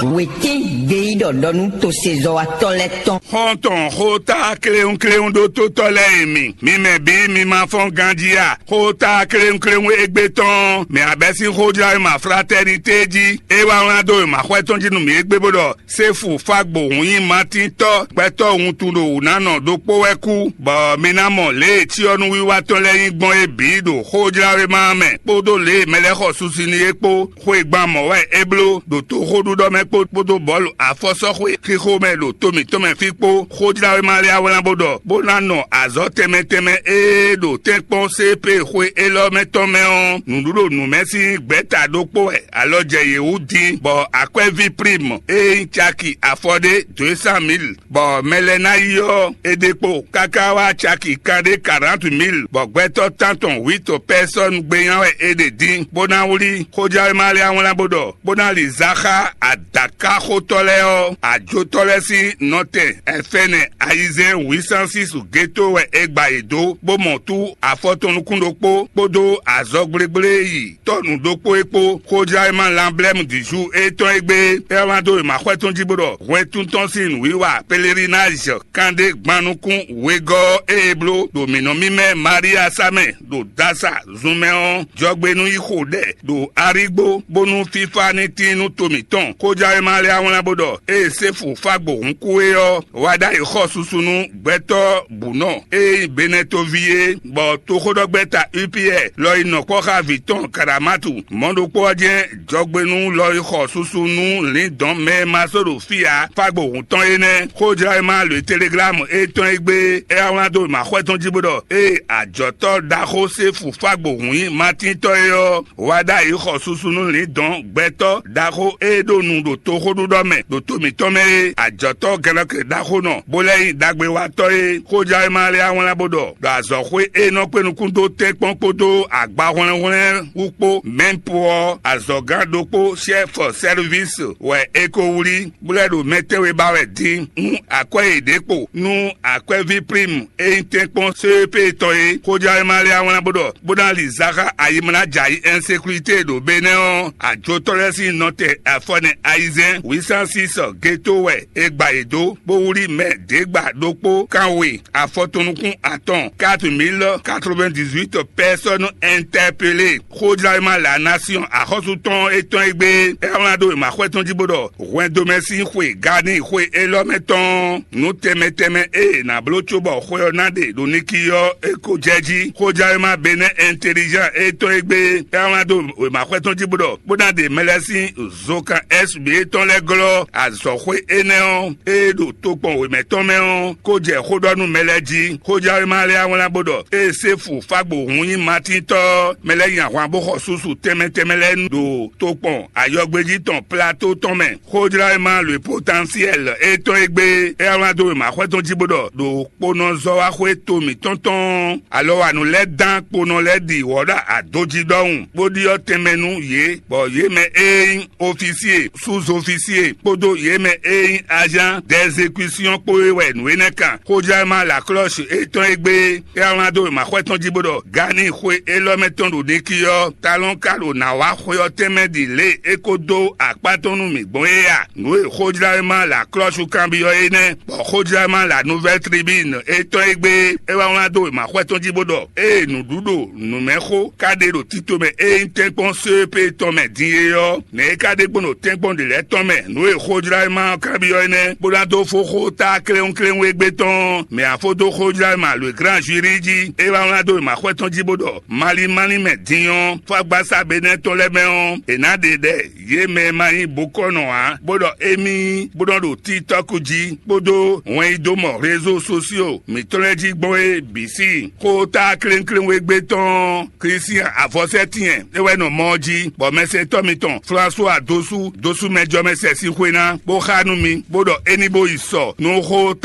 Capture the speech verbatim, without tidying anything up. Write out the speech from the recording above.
Wětín gbeyíɖɔ ɖɔ nú tosezɔ́watɔ́ lɛ́ɛ tɔn. Xɔ́ntɔn xóta kléwúnkléwún ɖótótɔ́ lɛ́ɛ e mi, mi mɛ bǐ mi ma fɔ́n ganjí a? Xóta kléwúnkléwún égbé tɔn, mɛ abɛ́ sín xójlá e ma fratɛ́nité jí, é wá wlán dó e ma xwɛ tɔn jí nú mǐ égbé bó ɖɔ: Séfu Fágbo hun nyí Matíntɔ́, gbɛtɔ́ wuntun ɖo wǔ ná nɔ ɖokpó wɛ kú, bɔ mi ná mɔ lě e cyɔ́núwiwa tɔn lɛ́ɛ nyí gbɔn é bǐ ɖo xójláwéma ɔ́ mɛ, kpódó lě e mɛ lɛ́ɛ xɔ susu n'i é kpó. Xwegban mɔ̌ wɛ é bló ɖo toxóɖuɖɔ mɛ kpó kpódó bɔ̌lu afɔsɔ́xwe xixo mɛ ɖo to mǐtɔn mɛ fí kpó. Xójláwéma lɛ́ɛ wá wlán bó ɖɔ: Bó ná nɔ azɔ̌ tɛnmɛ tɛnmɛ e ɖo tɛ́nkpɔ́n C P xwe élɔ́ mɛ tɔn mɛ ɔ́, nǔɖuɖu nǔmɛ sín gbɛ̌ta ɖokpó wɛ alɔ jɛ yě wú din, bɔ akwɛ́ví Prime e nyí caki afɔ ɖé deux cent mille, bɔ mɛ lɛ́ɛ ná yi ɔ́, è ɖe kpo káká wá caki kanɖé quarante mille, bɔ gbɛtɔ́ tántɔn huit personnes gbénya wɛ è ɖe din, bó ná wlí. Xójɛwéma lɛ́ɛ wlán bó ɖɔ: Bó ná li zǎ xá adǎkáxotɔ́ lɛ́ɛ ɔ́, ajotɔ́ lɛ́ɛ sín nɔtɛn ɛfɛ́nɛ ayizɛ́n huit cent six géto wɛ è gba yě dó, bó mɔ tú afɔ tɔn nukún ɖokpó kpódó azɔgblégblé yi tɔ́ nǔ ɖokpó é kpó. Xójláwéma Lanblɛ́mu Dǐzú étɔn e gbé é wá dó wěmaxwɛ tɔn jí bó ɖɔ: Hwɛntún tɔn sín nǔwiwa pelerinage kanɖé gban nukún wegɔ́ ɔ́ e è bló ɖo mǐ nɔ mímɛ́ Maria sá mɛ ɖo Dasa zun mɛ ɔ́, jɔgbe nú yi xo ɖɛ ɖo arígbó, bónú fífá ní tín nú to mǐtɔn. Xójláwéma lɛ́ɛ wlán bó ɖɔ: Ée Séfu Fágbo hun kú é ɔ́, wá ɖ'ayǐ xɔ susu nú gbɛtɔ́ bǔnɔ e nyí Benɛtoví é, bɔ toxóɖɔgbɛ́ta Upiɛ lɔ yi nɔ kpɔ́ xá vǐ tɔn Kaɖamátu. Mɔ̌ ɖokpó ɔ́ jɛ́n jɔgbenú lɔ yi xɔ susu nú lǐndɔ̌n mɛ e ma sɔ́ ɖo fí ǎ, Fágbo hun tɔn é nɛ́. Xójláwéma lǒ e Teleglámu étɔn e gbé é wá wlán dó wěmaxwɛ tɔn jí bó ɖɔ: Ée ajɔ̌tɔ́ ɖaxó Séfu Fágbo hun nyí Matíntɔ́ é ɔ́, wá ɖ'ayǐ xɔ susu nú lǐndɔ̌n gbɛtɔ́ ɖaxó e ɖo nu ɖo toxóɖuɖɔ mɛ ɖo to mǐtɔn mɛ é, ajɔ̌tɔ́ gɛlɔkɛ ɖaxó nɔ, bó lɛ́ nyí ɖagbewatɔ́ e Xójláwéma lɛ́ɛ wá wlán bó ɖɔ: Ɖo azɔ̌xwé e nɔ kpé nukún dó tɛ́nkpɔ́n kpódó agbahwlɛ́nhwlɛ́n wú kpó mɛ̌mpo ɔ́, azɔ̌gán ɖokpó, chef service, wɛ è ko wlí, bó lɛ́ ɖo mɛ tɛ́nwe ba wɛ din. Nú akwɛ́ e ɖě kpo nú akwɛ́ví Prime e nyí tɛ́nkpɔ́n C E P tɔn é, Xójláwéma lɛ́ɛ wá wlán bó ɖɔ: Bó ná li zǎ xá ayimlá jɛ ayǐ insécurité ɖo Benɛ́ ɔ́, ajotɔ́ lɛ́ɛ sín nɔtɛn afɔnɛ ayizɛ́n huit cent six géto wɛ è gba yě dó, bó wlí mɛ ɖěgba ɖokpó kanwe afɔtɔn nukún atɔn, quatre mille quatre-vingt-dix-huit personnes interpellées. Xójláwéma La Nation axɔ́sú tɔn étɔn e gbé é wlán dó wěmaxwɛ tɔn jí bó ɖɔ: Hwɛndomɛ sín xwe Gani xwe élɔ́ mɛ tɔn nǔ tɛnmɛ tɛnmɛ e è nǎ bló cóbɔ xwe ɔ́ ná ɖe ɖo Niki ɔ́, é ko jɛ jí. Xójɛwéma Benɛ́ Intelligent étɔn e gbé é wlán dó wěmaxwɛ tɔn jí bó ɖɔ: Bó ná ɖe mɛ lɛ́ɛ sín zokan S B A tɔn lɛ́ɛ glɔ́ azɔ̌xwé énɛ́ ɔ́, e ɖo tokpɔn wěmɛ tɔn mɛ ɔ́, kó jɛ xó ɖɔ nú mɛ lɛ́ɛ jí. Xójɛwéma lɛ́ɛ wá wlán bó ɖɔ: Ée Séfu Fágbo hun nyí Matíntɔ́, mɛ lɛ́ɛ nyi ahwan bó xɔ susu tɛnmɛ tɛnmɛ lɛ́ɛ ɖo tokpɔn ayɔgbéjí tɔn Plato tɔn mɛ. Xójláwéma Le Potentiel étɔn e gbé é wá wlán dó wěmaxwɛ tɔn jí bó ɖɔ: Ɖo kponɔzɔ́waxwé to mǐtɔn tɔn alɔwanu lɛ́ɛ dán kponɔ lɛ́ɛ ɖi wɔ̌ ɖo adojí ɖɔhun, bó ɖyɔ́ tɛnmɛ nú yě, bɔ yě mɛ e nyí ofisiye, suzofisiye kpódó yě mɛ e nyí azán dɛzekusiɔn kpó é wɛ nǔ énɛ́ kan. Xójláwéma Laklɔ́si étɔn e gbé é wlán dó wěmaxwɛ tɔn jí bó ɖɔ: Gani xwe élɔ́ mɛ tɔn ɖo Niki ɔ́, talɔn ka ɖo nǎ wá xwe ɔ́ tɛnmɛ ɖi lě e é ko dó akpá tɔn nú mǐ gbɔn é a? Nǔ e xójláwéma Laklɔ́su kanbyɔ́ é nɛ́, bɔ xójláwéma La Nouvelle Tribune étɔn e gbé é wá wlán dó wěmaxwɛ tɔn jí bó ɖɔ: Ée nǔɖuɖu nǔmɛxó ka ɖe ɖo tito mɛ e nyí tɛ́nkpɔ́n C E P tɔn mɛ din é ɔ́, nɛ̌ é ka ɖe gbɔn ɖo tɛ́nkpɔ́n ɖě lɛ́ɛ tɔn mɛ? Nǔ e xójláwéma ɔ́ kanbyɔ́ é nɛ́, bó ná dó fó xó ta kléwúnkléwún égbé tɔn mɛ afó dó xójláwéma Le Grand Jury jí. É wá wlán dó wěmaxwɛ tɔn jí bó ɖɔ: Mali mali mɛ din ɔ́, fágbásá Benɛ́ tɔn lɛ́ɛ mɛ ɔ́, è nǎ ɖe ɖɛ yě mɛ e ma nyí bokɔ́nɔ ǎ, bó ɖɔ émí bó nɔ ɖo TikTɔ́k jí kpódó hwɛnyidomɔ rézo sosio mǐtɔn lɛ́ɛ jí gbɔn é bǐ sí. Xó ta klénklénwégbé tɔn Klísián avɔsɛ́tɛ́n é wɛ nɔ mɔ ɔ́ jí, bɔ mɛsɛntɔ́ mitɔn Flasuwa dosú dosú mɛjɔmɛ sɛ sín xwé ná, bó xá nú mi, bó ɖɔ é ní bó yi sɔ nú xó